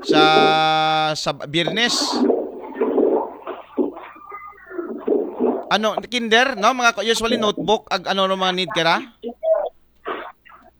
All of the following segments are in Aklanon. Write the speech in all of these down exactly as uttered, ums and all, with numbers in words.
sa, sa Biyernes. Ano, kinder, no? Mga ko-, usually notebook, ag ano no mga need kara?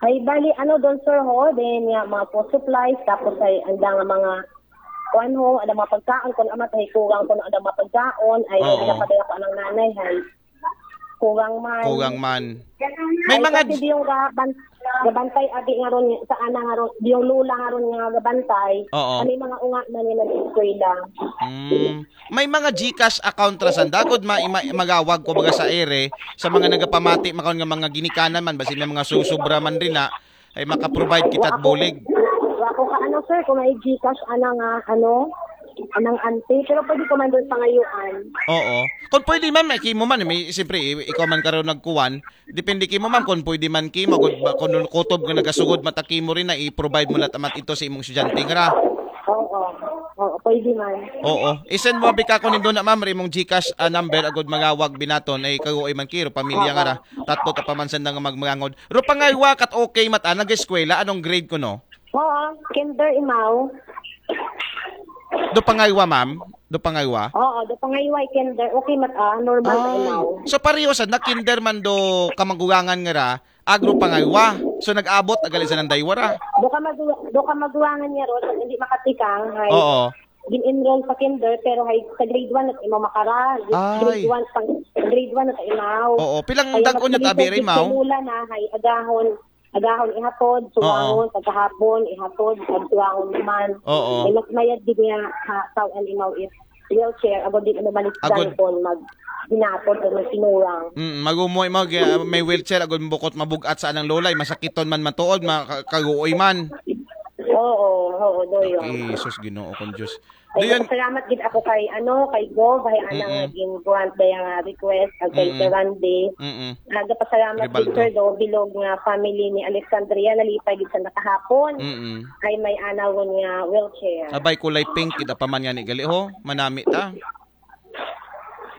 Ay, bali, ano doon, sir, ho? Then, nga, mga food supplies, tapos ay, andang mga, kuan ho, andang mga pagkaon, kung amat ay kulang, kung andang mga pagkaon, ay, Oo. Dapat ay ako ng nanay, ay, kulang man. Kulang man. May Ay, mga kasi di yung gaban, gabantay, abi nga ron, sa ana nga ron, di yung lula nga ron nga gabantay, Oo. Ano yung mga unga man yung nag-eskwela. Mm. May mga GCash account ra sanda gud ma, ma, magawag ko baga sa ere sa mga nagapamati makaon nga mga ginikanan man basi may mga susubra man rin na ay maka-provide kita bulig. Wa ko ka ano, sir, kung may GCash, ana nga, ano, anang ante, pero pwede ko man doon pangayuan. Oo. Kung pwede man, may kimo man, may, siyempre, i- ikaw man karon nagkuwan, depende kimo man kung pwede man kimo, kung, ba- kung kutob nga nagasugod mata kimo rin na i-provide mo na tamat ito sa imong estudyante nga ra. Oo. Oo, pwede man. Oo. I-send mo abi ka ko nindo na ma'am, ri imong GCash ah, number agud magawag binaton ay kagoy man kiro pamilya nga ra. Tatlo ta pamansan na nga magmangangod. Ro pangaywa kat okay mata nag-eskwela anong grade ko no? Oo, kinder imaw. Do pangaywa ma'am? Do pangaywa? Oo, do pangaywa kinder. Okay mata, normal na imaw. So pareho sa na kinder man do kamagulangan nga ra, agro pangaywa. So nag-abot agali sa nang daywara. Do ka magu do ka magulangan niya ron, hindi makatikang, hay. Oo. Gin-enroll sa kinder, pero hay sa grade one at imaw makara. Ay. Grade one pang grade one at imaw. Oo, pilang Kaya dag-on mas yung tabi magiging rin mao? Lula na, hay agahon. Agahon ihatod, suwangon, pagkahapon, ihatod, pagsuwangon naman. Oo. Ay, mas mayad din niya ha, tawag imaw is wheelchair, agod din ano Agod. malisdan kung mag hinapon o mag sinuwang. Mm, magumoy mag uh, may wheelchair agud bukot mabugat sa anang lolay, masakiton man matuod, makakaguoy man. Oo, oo, doyo. Jesus, Ginoo kong Diyos. Ay, Doon, salamat gid ako kay ano, kay Gov, hay ana Mm-mm. Naging grant daya nga request, ag kay Mm-mm. Sir Randy. Mm-mm. Nagapasalamat gid Ribaldo. Sir do bilog nga family ni Alexandria nalipay gid sa nakahapon. Mm-mm. Ay may anaw nga wheelchair. Abay kulay pink kita pa man nga ni gali ho, manami ta.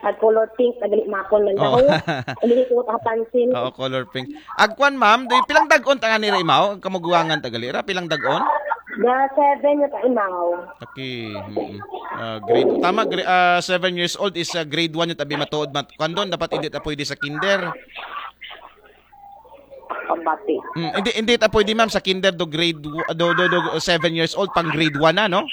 At color pink, nagali makon man Oo. daw. Hindi ko kapansin. Oo, color pink. Agkuan ma'am, do pilang dagon ta nga ni Rimaw, ang kamuguangan ta gali ra, pilang dagon? Na seven na ka imaw. Okay. Mm-mm. Ah, grade tama gra- ah, seven years old is ah, grade one yung tabi matuod mat kuan doon dapat hindi ta pwede sa kinder. Pambati. Mm, hindi hindi ta pwede ma'am sa kinder do grade w- do do, do seven years old pang grade one na no?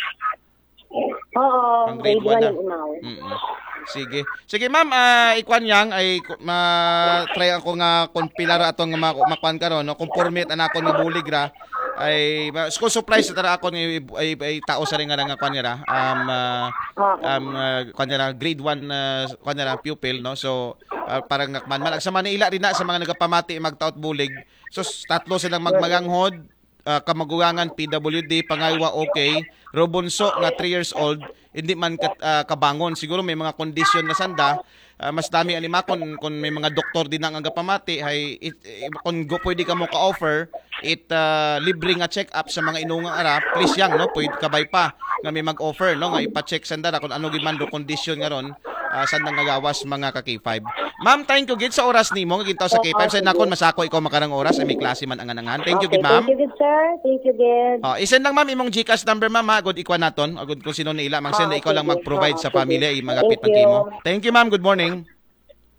Oo, Pang grade grade one one na. Yung imaw. Mm. Sige. Sige ma'am, ah, ikuan yang ay ku- ma try ako nga kung pila ra atong ma makuan karon no, conforme ta nakon nga bulig ra ay ma- school supplies ta ra akon nga i- ay, ay tao sa rin nga nga kuan nga ra. Um, ah, Oo. um, ah, kuan nga ra, grade one na kuan nga ra pupil no. So ah, parang nga man man sa Manila rin na sa mga nagapamati magtaot bulig. So s- tatlo silang magmaganghod, ah, kamagulangan P W D, pangaywa okay, Robunso nga three years old, hindi man kat, ah, kabangon. Siguro may mga kondisyon na sanda, ah, mas dami anima kung, kung may mga doktor din ang agapamati, hay it, it, kung go, pwede ka mo ka-offer it ah, libre nga check-up sa mga inungang ara, please yang no, pwede kabay pa nga may mag-offer no nga ipa-check sanda ra kung ano gid man do kondisyon nga ron ah, sanda nga gawas mga ka K five. Ma'am, thank you gid sa oras nimo nga gintaw sa K five. Sa nakon masako ikaw makarang oras ay may klase man ang anangan. Thank you Okay, gid ma'am. Thank you, good sir. Thank you, good. Oh, i-send lang ma'am imong GCash number ma'am ha, agud ikuan naton. Agud kung sino na ila, mang send Ah, ikaw lang sige. mag-provide Ah, sa sige. pamilya, i magapit Thank man kimo. you. Thank you ma'am. Good morning.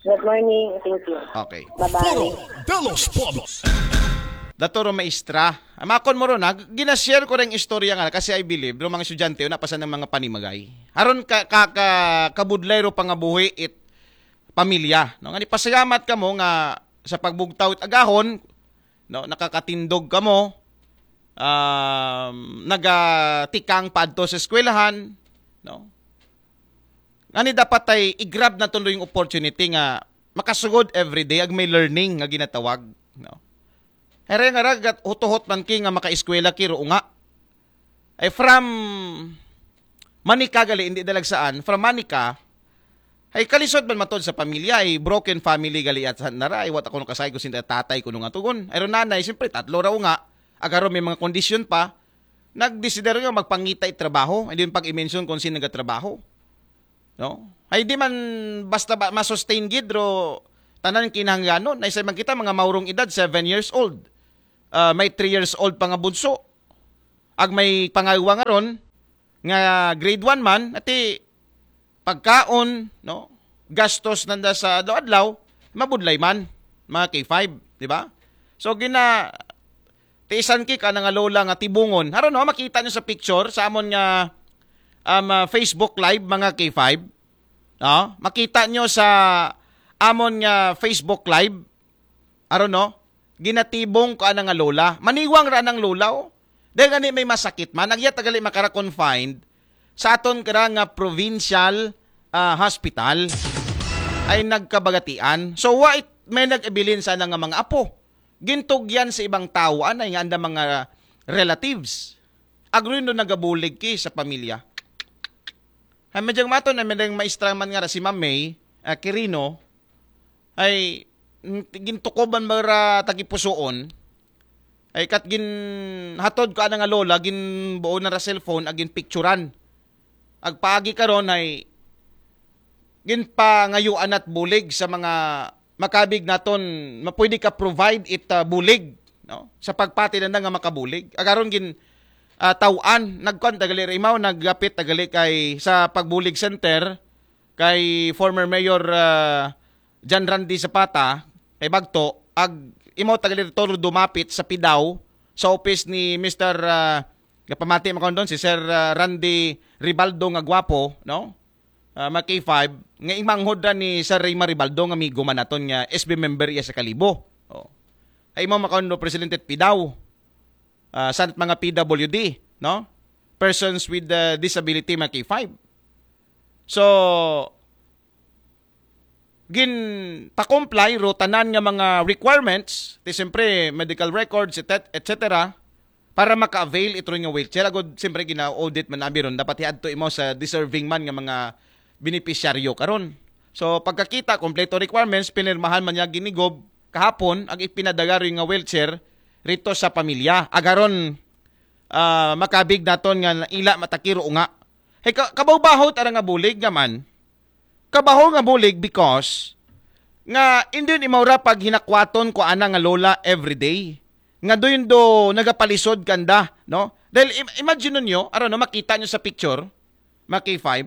Good morning. Thank you. Okay. Bye-bye. Foro de los Pueblos. Dato ro maestra. Amakon mo ron ha, ginashare ko rin istorya nga kasi I believe ro mga estudyante na pasan ng mga panimagay. Aron ka, ka, ka kabudlay ro pangabuhi it pamilya. No? Nga ni pasalamat ka mo nga sa pagbugtaw it agahon, no, nakakatindog ka mo, um, nagatikang paadto sa eskwelahan, no? Nga ni dapat ay i-grab na tuloy yung opportunity nga makasugod everyday ag may learning nga ginatawag, no? Here nga ragat hutuhot man ki nga makaeskwela ki ro nga. Ay from Manica gali, hindi dalagsaan, from Manica, ay kalisod man matod sa pamilya, ay broken family gali at sa nara, ay wat ako nung kasay ko sinda tatay ko nung atugon. Ay ro nanay, siyempre tatlo raw nga, agaro may mga kondisyon pa, nagdesider nga magpangita it trabaho, hindi yung pag-i-mention kung sino nagatrabaho. No? Ay di man basta ba masustain gid ro tanan kinahanglanon. Ay sa man kita mga maurong edad, seven years old. Ah, may three years old pa nga bunso. Ag may pangaywa nga ron, nga grade one man, ati pagkaon, no? Gastos nanda sa adlaw-adlaw, mabudlay man, mga K five, di ba? So, gina, tiisan ki ka na nga lola nga tibungon. Aron, no, makita nyo sa picture, sa amon nga um, uh, Facebook Live, mga K five. No? Makita nyo sa amon nga Facebook Live. Aron, no? Ginatibong ko ana nga lola. Maniwang ra nang lola, oh. Dahil gani may masakit man, agya tagali makara-confined sa aton kara nga provincial ah, hospital ay nagkabagatian. So, wa it may nag-abilin sana nga mga apo. Gintugyan sa ibang tao, anay nga anda mga relatives. Agrundo nagabulig ki sa pamilya. Ay, medyang maton na medyang maestra man nga ra si Ma'am May, ah, Quirino, ay, mm, gintukoban ba ra tagipusoon, ay kat gin hatod ko ana nga lola, gin buo na ra cellphone, agin picturan. Agpaagi karon ay ginpangayuan at bulig sa mga makabig naton, mapwede ka provide it uh, bulig, no? Sa pagpati na nga makabulig. Agaron gin uh, tawaan, nagkuan tagali ra imaw, naggapit tagali kay sa pagbulig center kay former mayor uh, John Randy Zapata, kay Bagto, ag imaw tagali ra toro dumapit sa Pidaw sa office ni Mister uh, gapamati makon doon si Sir uh, Randy Ribaldo nga gwapo, no? Ah, mga K five, nga imanghod ra ni Sir Ray Maribaldo nga amigo man naton nga S B member iya sa Kalibo. Oh. Ay mo makaundo Presidente Pidaw. Ah, sa mga P W D, no? Persons with uh, disability, mga K five. So, gin pa-comply ro tanan nga mga requirements, ti siyempre medical records, et cetera, para maka-avail ito nga wheelchair. Agod siyempre gina-audit man abi ron, dapat hiadto imo sa deserving man nga mga benepisyaryo karon. So pagkakita kompleto requirements, pinirmahan man niya ginigob kahapon ang ipinadagari nga wheelchair rito sa pamilya. Agaron uh, makabig naton nga ila matakiro nga. Hey, ka- kabaw-bahaw tara nga bulig naman. Kabaho nga bulig because nga hindi ni maura pag hinakwaton ko ana nga lola everyday. Nga doon do nagapalisod kanda, no? Dahil im- imagine ninyo, aron no, makita nyo sa picture, mga K five,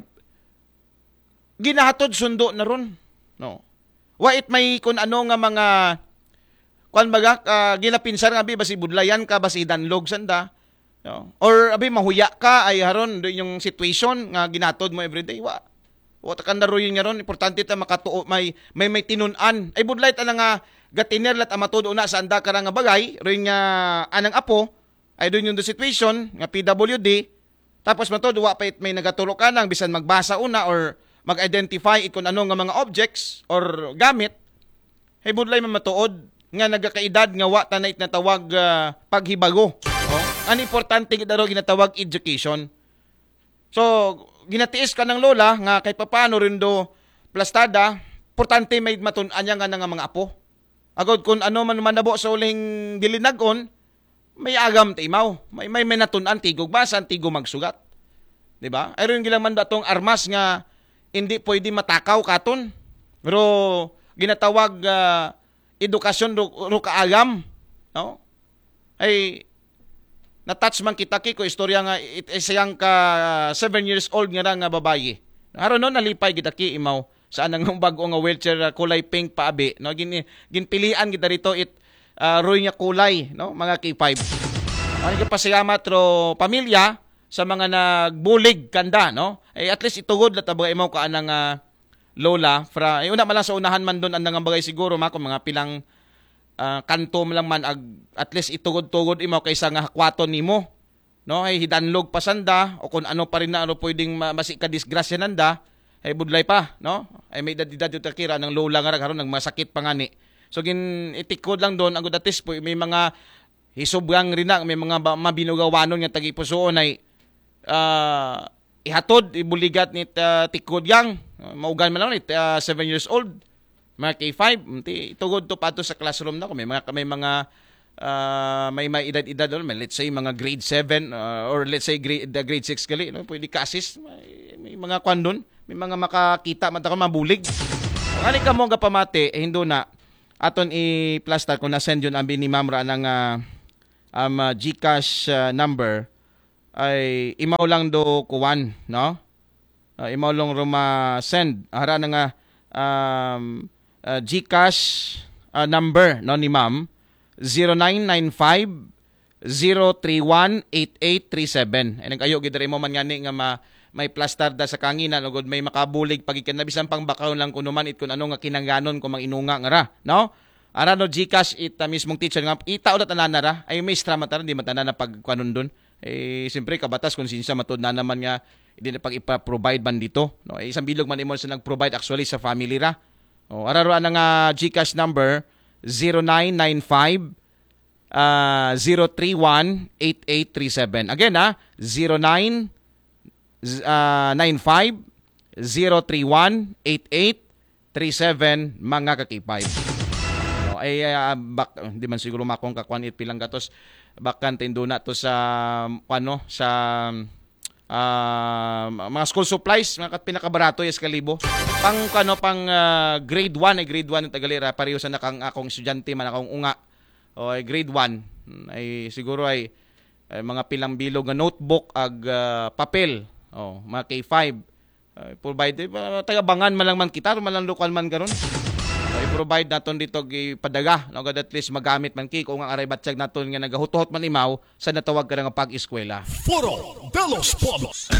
ginahatod sundo na ron, no? Wa it may kun ano nga mga kuan baga, uh, ginapinsar nga abi basi budlayan ka, basi danlog sanda, no? Or abi mahuya ka ay haron do yung situation nga ginatod mo everyday, wa. Wa ta kanda ruyon nga ron, importante ta makatuo may may may tinunan. Ay budlay ta na nga gatiner lat amatod una sa anda kara nga bagay, ruyon nga anang apo, ay doon yung situation nga P W D, tapos matod wa pa it may nagaturo ka nang bisan magbasa una or mag-identify it kung ano nga mga objects or gamit, ay budlay man matuod nga nagakaedad nga wa tanay natawag uh, paghibago. Oh? Ang importante gid aro ginatawag education. So, ginatiis ka ng lola nga kay papaano rin do plastada, importante may matun-an niya nga nga mga apo. Agod kung ano man manabo sa uling dilinag-on, may agam ta imaw. May may, may natun-an tigog basa, tigo magsugat. 'Di ba? Ay rin gilang man datong armas nga hindi pwede matakaw katon. Pero ginatawag uh, edukasyon ro, ro kaagam, no? Ay na-touch man kita ki ko istorya nga it, isang ka seven years old nga nga babayi. Haro no nalipay kita ki imaw sa anang bag-o nga wheelchair uh, kulay pink paabi, no? Gin ginpilian kita rito it uh, roy nga kulay, no? Mga K five. Ang pasalamat ro pamilya sa mga nagbulig kanda, no? Ay at least itugod la tabagay imaw ka anang uh, lola fra ay una mala sa unahan man doon ang bagay siguro mako mga pilang uh, kanto lang man ag, at least itugod-tugod imo kaysa nga hakwaton nimo, no? Ay hidanlog pa sanda o kung ano pa rin na ano pwedeng ma- masi ka disgrasya nanda ay budlay pa, no? Ay may edad-edad yung takira ng lola nga ragharon nagmasakit pa ngani. So gin itikod lang doon ang gudatis po may mga hisubyang rin na may mga ba- mabinugawanon nga tagipusuon ay uh, ihatod ibuligat ni uh, tikod yang maugan man lang ni uh, seven years old mga K five, ti tugod to pato sa classroom na ko may mga may mga uh, may may edad-edad or may, let's say mga grade seven uh, or let's say grade the grade six gali no pwede ka-assist may, may mga kwan doon may mga makakita man ta mabulig ani ka mo gapamati eh, hindo na aton i-plastar kung na-send yun ang ni ma'am ra nang uh, um, uh, GCash uh, number ay imaw lang do kuwan, no? Ah, imaw lang ruma send. Ara na nga, um, ah, GCash, ah, number, no, ni ma'am, zero nine nine five, zero three one, eight eight three seven. Ay, nag-ayo gid diri mo man ngani nga ma-, may plastar da sa kanginan, ugod may makabulig pagikana, bisan pang bakaw lang kuno man it kun ano nga kinangganon ko mang inunga nga ra, no? Ara no GCash it, ah, mismong teacher nga, ita ulit anana ra, ay may istra man tara, di man tanana pagkuanon dun. Eh, siyempre, kabatas, konsensya, matod na naman nga, hindi na pag ipa-provide man dito. No? Eh, isang bilog man imo sa nag-provide actually sa family ra. O, ara ro na nga GCash number, zero nine nine five, ah, zero three one, eight eight three seven. Again, ha, zero nine, z-, ah, nine five, zero three one, eight eight three seven, mga ka-K five. No, ay, ah, bak-, di man siguro makong kakuan it pilang gatos. Bakan tinduna to sa, ano, sa, ah, mga school supplies, mga kat-, pinakabarato, yes, kalibo. Pang, ano, pang, ah, grade one, ay grade one ng Tagalira, pareho sa nakang akong estudyante, man akong unga. O, ay grade one, ay siguro ay, ay mga pilang bilog nga notebook, ag, ah, papel. O, mga K five. Ay, provide, eh, taga-Bangan man lang man kita, man lang lokal man karon. Ay, provide naton dito, ipadaga, no, gad at least magamit man ki, kung ang aray batyag naton nga nagahutuhot man imaw, sa natawag ka nga pag-eskwela. Foro de los Pueblos.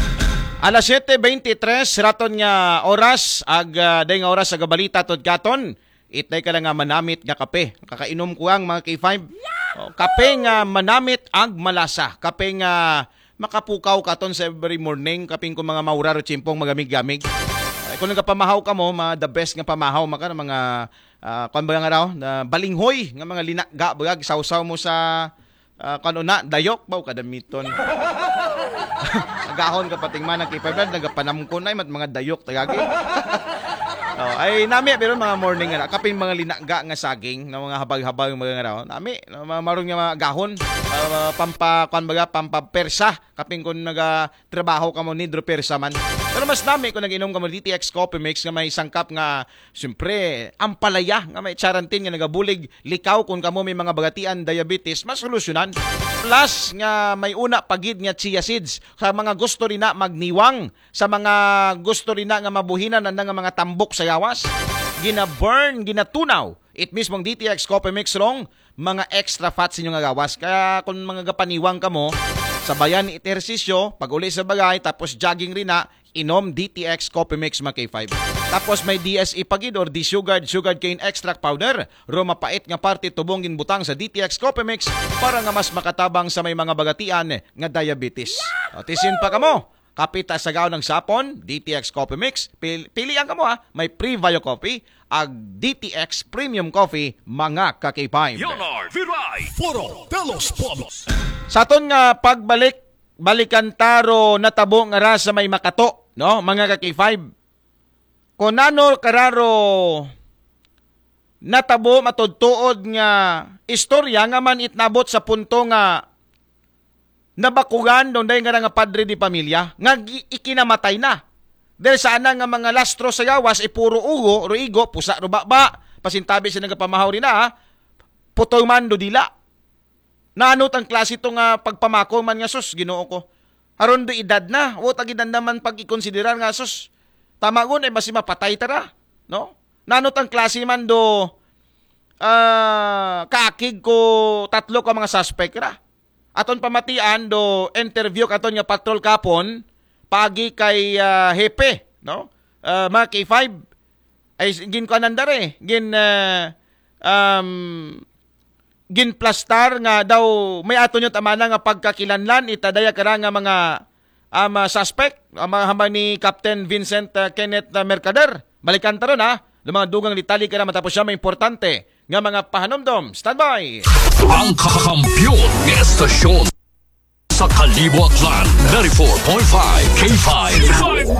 Alas siyete beintitres, raton nga oras, ag, ah, day nga oras sa gabalita, tod katon, itay ka lang nga manamit nga kape. Kakainom ko ang mga K five. O, kape nga manamit ag malasa. Kape nga makapukaw katon sa every morning. Kaping ko mga maurar o chimpong magamig-gamig. Ay, kung nagapamahaw ka mo, mga the best nga pamahaw, maka mga, ah, kwan ba nga raw, na balinghoy, nga mga linaga, baga, sawsaw mo sa, ah, kwan na, dayok, ba, kadamiton. Agahon ka pating man, ang K five na, nagapanamkon ay, mat mga dayok, tagagi. O, ay, nami, pero mga morning nga, kaping mga linaga nga saging, na mga habag-habag, mga nga raw, nami, na mga maroon nga mga agahon, ah, pampa, kwan baga, pampapersa, kaping kung naga, trabaho ka mo ni Drew Persaman. Pero mas nami kung nag-inom ka mo D T X Coffee Mix nga may sangkap nga, siyempre, ampalaya nga may charantin nga nagabulig, likaw kung kamo may mga bagatian, diabetes, mas solusyonan. Plus nga may una pagid nga chia seeds sa mga gusto rin na magniwang, sa mga gusto rin na nga mabuhinan ang nga mga tambok sa yawas. Gina-burn, ginatunaw. It mismong D T X Coffee Mix rong mga extra fats inyo nga gawas. Kaya kung mga gapaniwang ka mo, sabayan it ehersisyo, pag uli sa bagay, tapos jogging rin na, inom D T X Coffee Mix, mga K five. Tapos may D S E pagid or desugared sugar cane extract powder. Ro mapait nga parte tubong ginbutang sa D T X Coffee Mix para nga mas makatabang sa may mga bagatian nga diabetes. O, tisin pa kamo. Kapita sa gaon ng sapon, D T X Coffee Mix. Pil-, pilian ka mo ha. May Pre-Bio Coffee, ag D T X Premium Coffee, mga ka-K five. Leonard Viray. Foro de los Pueblos. Sa aton nga pagbalik, balikan taro natabo nga ra sa may Makato, no, mga ka-K five. Kung nano kararo natabo matudtuod nga istorya nga man itnabot sa punto nga nabakugan doon dahil nga nga padre di pamilya nga gi-, ikinamatay na. Dahil sana nga mga lastro sa gawas, ipuro ugo, ruigo, pusa, rubaba, pasintabi sa nagapamahaw rin na, ha? Putol man do dila. Nanot ang klase to nga pagpamako man nga, "Sus, Ginoo ko. Aron do edad na, wa ta gid naman pag-ikonsiderar nga, sus, tama gun, ay basi mapatay tara." No? Nanot ang klase man do, ah, kaakig ko tatlo ka mga suspect ra. Aton pamatian do interview katon nga patrol kapon, pagi kay, ah, Hepe, no? Ah, mga K five, ay s-, ginkuanan dare, gin, ah, um, ginplastar nga daw may ato nyo tamana nga pagkakilanlan, itadaya kara nga mga, ah, mga suspect, ah, mga hambal ni Captain Vincent, ah, Kenneth, ah, Mercader. Balikan taron, ha? Ng mga dugang detalye kara matapos siya may importante nga mga pahanumdom. Standby! Ang kakampiyon ng estasyon sa Kalibo Aklan, ninety-four point five K five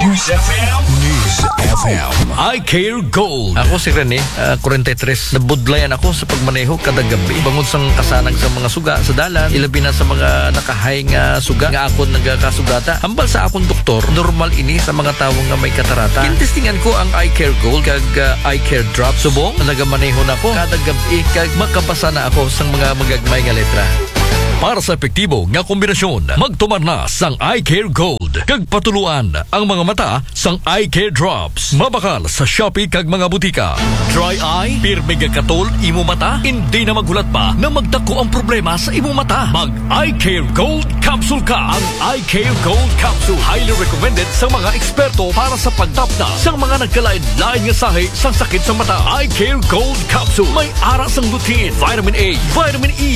News F M. News F M. I Care Gold. Ako si Rene, ah, forty-three. Nabudlayan ako sa pagmaneho kada gabi. Bangod sang kasanag sa mga suga sa dalan, ilabi na sa mga nakahay nga suga nga akon nagakasugata. Hambal sa akong doktor, normal ini sa mga tawo nga may katarata. Gintestingan ko ang Eye Care Gold kag, ah, Eye Care Drop. Subong, nagamaneho na ko kada gabi kag makabasa na ako sa mga magagmay nga letra. Para sa epektibo nga kombinasyon, magtumar na sang Eye Care Gold kag patuluan ang mga mata sang Eye Care Drops. Mabakal sa Shopee kag mga butika. Dry eye, pirmi nga katol imo mata, hindi na maghulat pa na magdako ang problema sa imo mata. Mag Eye Care Gold Capsule ka. Ang Eye Care Gold Capsule, highly recommended sa mga eksperto para sa pagtapna sa mga nagkalain-lain nga sahi sang sakit sa mata. Eye Care Gold Capsule may ara sang lutein, vitamin A, vitamin E,